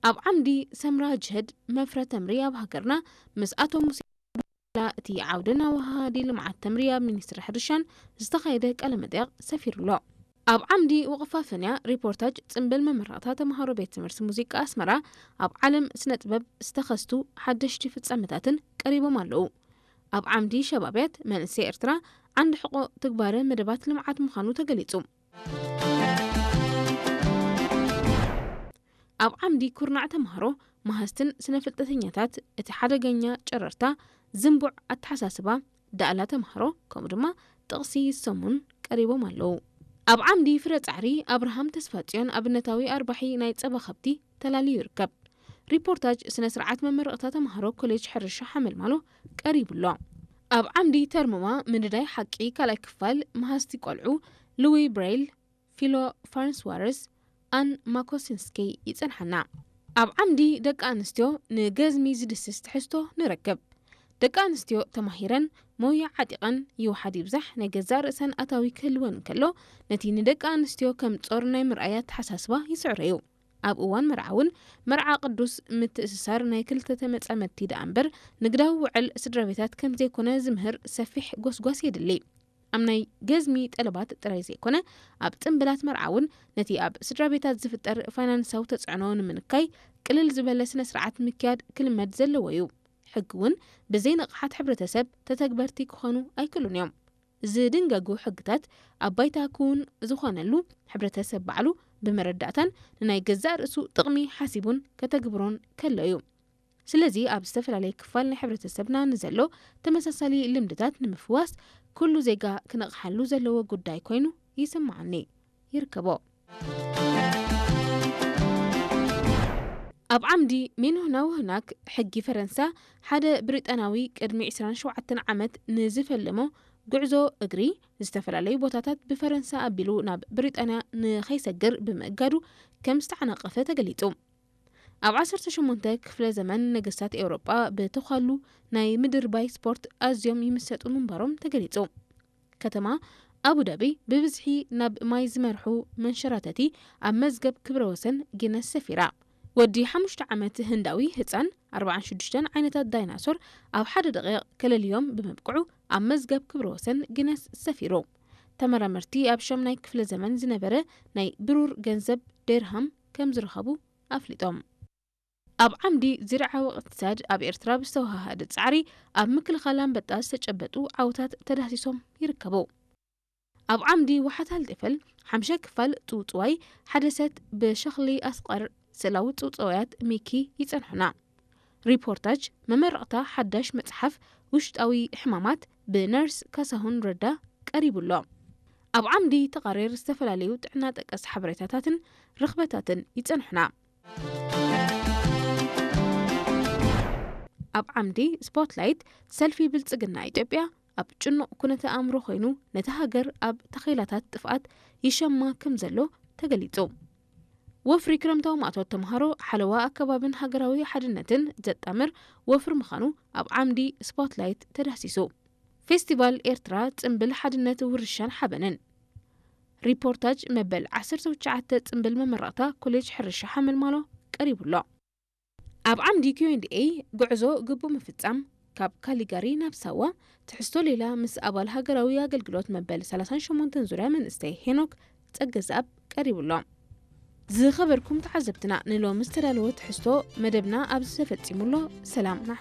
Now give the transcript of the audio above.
ኣብ ዓምዲ ሰምራ ጅህድ መፍረ ተምሪ ኣብ ሃገርና ምስ ኣቶ ሙሴ፣ እቲ ዓውድን ኣወሃሃዲ ልምዓት ተምሪ ኣብ ሚኒስትሪ ሕርሻን ዝተኻየደ ቃለ መጠይቕ ሰፊሩ ኣሎ። ኣብ ዓምዲ ወቕፋ ፈንያ ሪፖርታጅ ጽምብል መመረቕታ ተምሃሮ ቤት ትምህርቲ ሙዚቃ ኣስመራ ኣብ ዓለም ስነ ጥበብ ዝተኸስቱ ሓደሽቲ ፍጻመታትን ቀሪቦም ኣለዉ። ኣብ ዓምዲ ሸባብያት መንእሰይ ኤርትራ ዓንዲ ሕቆ ትግባረ መደባት ልምዓት ምዃኑ ተገሊጹ። ኣብ ዓምዲ ኩርናዕ ተምሃሮ መሃዝትን ስነ ፍልጠተኛታት እቲ ሓደገኛ ጨረርታ ዝንቡዕ ኣተሓሳስባ ዳእላ ተምሃሮ ከምኡ ድማ ጥቕሲ ይሰሙን ቀሪቦም ኣለዉ። ኣብ ዓምዲ ፍረ ጻዕሪ ኣብርሃም ተስፋጽዮን ኣብነታዊ ኣርባሒ ናይ ጸባ ከብቲ ተላልዩ ይርከብ። ሪፖርታጅ ስነ ስርዓት መመረቕታ ተምሃሮ ኮሌጅ ሕርሻ ሓመልማሎ ቀሪቡ ኣሎ። ኣብ ዓምዲ ተርምማ ምንዳይ ሓቂ ካልኣይ ክፋል መሃዝቲ ቆልዑ ሉዊ ብሬይል፣ ፊሎ ፋርንስዋርስ፣ ኣን ማኮሲንስኪ ይጸንሓና። ኣብ ዓምዲ ደቂ ኣንስትዮ ንገዝሚ ዝድስስ ትሕዝቶ ንረክብ። ደቂ ኣንስትዮ ተማሂረን ሞያ ዓጢቐን ይውሓድ ይብዛሕ ናይ ገዛእ ርእሰን ኣታዊ ክህልወን እንከሎ፣ ነቲ ንደቂ ኣንስትዮ ከም ጾር ናይ ምርኣይ ኣተሓሳስባ ይስዕሮ እዩ። ኣብ እዋን መርዓ እውን መርዓ ቅዱስ ምትእስሳር ናይ ክልተ ተመጻመድቲ ደኣ እምበር ንግዳዊ ውዕል ስድራ ቤታት ከም ዘይኮነ ዝምህር ሰፊሕ ጎስጓስ የድሊ። ኣብ ናይ ገዝሚ ጠለባት ጥራይ ዘይኮነ ኣብ ጽምብላት መርዓ እውን ነቲ ኣብ ስድራ ቤታት ዝፍጠር ፋይናንሳዊ ተጽዕኖ ንምንካይ ቅልል ዝበለ ስነ ስርዓት ምክያድ ክልመድ ዘለዎ እዩ። ሕጊ እውን ብዘይ ንቕሓት ሕብረተሰብ ተተግበርቲ ክኾኑ ኣይክእሉን እዮም። ዝድንገጉ ሕግታት ኣብ ባይታ ክውን ዝኾነሉ ሕብረተሰብ ባዕሉ ብመረዳእታን ንናይ ገዛእ ርእሱ ጥቕሚ ሓሲቡን ከተግብሮን ከሎ እዩ። ስለዚ ኣብ ዝተፈላለየ ክፋል ናይ ሕብረተሰብና ንዘሎ ተመሳሳሊ ልምድታት ንምፍዋስ ኩሉ ዜጋ ክነቕሓሉ ዘለዎ ጉዳይ ኮይኑ ይስምዓኒ። ይርከቦ። ኣብ ዓምዲ ሚንሁና ውህናክ ሕጊ ፈረንሳ ሓደ ብሪጣናዊ ቅድሚ ዕስራን ሸውዓተን ዓመት ንዝፈለሞ ጉዕዞ እግሪ ዝተፈላለዩ ቦታታት ብፈረንሳ ኣቢሉ ናብ ብሪጣንያ ንኸይሰግር ብምእጋዱ ከም ዝተዓናቐፈ ተገሊጹ። ኣብ ዓሰርተ ሸሞንተ ክፍለ ዘመን ነገስታት ኤውሮጳ ብተዃሉ ናይ ምድርባይ ስፖርት ኣዝዮም ይምሰጡ ምንባሮም ተገሊጹ። ከተማ ኣቡዳቢ ብብዝሒ ናብ ማይ ዝመርሑ መንሸራተቲ ኣብ መዝገብ ክብረ ወሰን ጊነስ ሰፊራ። ወዲ ሓሙሽተ ዓመት ህንዳዊ ህጻን ኣርባዓን ሽዱሽተን ዓይነታት ዳይናሶር ኣብ ሓደ ደቂቕ ከለልዮም ብምብቅዑ ኣብ መዝገብ ክብረ ወሰን ጊነስ ሰፊሩ። ተመራመርቲ ኣብ ሸምናይ ክፍለ ዘመን ዝነበረ ናይ ብሩር ገንዘብ ዴርሃም ከም ዝረኸቡ ኣፍሊጦም። ኣብ ዓምዲ ዝርዓዊ እቕትሳድ ኣብ ኤርትራ ብዝተወሃሃደ ጻዕሪ ኣብ ምክልኻል ኣንበጣ ዝተጨበጡ ዓውታት ተዳህሲሶም ይርከቡ። ኣብ ዓምዲ ዋሓት ሃልጤፈል ሓምሻይ ክፋል ጽውጽዋይ ሓደ ሰት ብሸኽሊ ኣስቐር ስእላዊ ጽውጽዋያት ሚኪ ይጸንሑና። ሪፖርታጅ መመረቕታ ሓዳሽ መጽሓፍ ውሽጣዊ ሕማማት ብነርስ ካሳሁን ረዳ ቀሪቡ ኣሎ። ኣብ ዓምዲ ተቓሬር ዝተፈላለዩ ጥዕና ጠቀስ ሓበሬታታትን ርኽበታትን ይጸንሑና። ኣብ ዓምዲ ስፖትላይት ሰልፊ ብልጽግና ኢትዮጵያ ኣብ ጭኑቕ ኩነተ ኣእምሮ ኮይኑ ነቲ ሃገር ኣብ ተኸይላታት ጥፍኣት ይሸማ ከም ዘሎ ተገሊጹ። ወፍሪ ክረምታዊ ማእቶት ተምሃሮ ሓለዋ ኣከባብን ሃገራዊ ሓድነትን ዘጣምር ወፍሪ ምዃኑ ኣብ ዓምዲ ስፖትላይት ተዳህሲሱ። ፌስቲቫል ኤርትራ ጽምብል ሓድነት ውርሻን ሓበንን። ሪፖርታጅ መበል ዓሰርተ ትሽዓተ ጽምብል መመረቕታ ኮሌጅ ሕርሻ ሓመልማሎ ቀሪቡ ኣሎ። ኣብ ዓምዲ ኪዩ ኤንድ ኤ ጉዕዞ ግቡእ ምፍጻም ካብ ካሊጋሪ ናብ ሳዋ ትሕዝቶ ሌላ ምስ ኣባል ሃገራዊ ኣገልግሎት መበል ሰላሳን ሸሞንተን ዙርያ መንእሰይ ሄኖክ ጸገዝኣብ ቀሪቡ ኣሎ። ዝኸበርኩም ተዓዘብትና ንሎሚ ዝተዳለወ ትሕዝቶ መደብና ኣብዚ ተፈጺሙ ኣሎ። ሰላምና።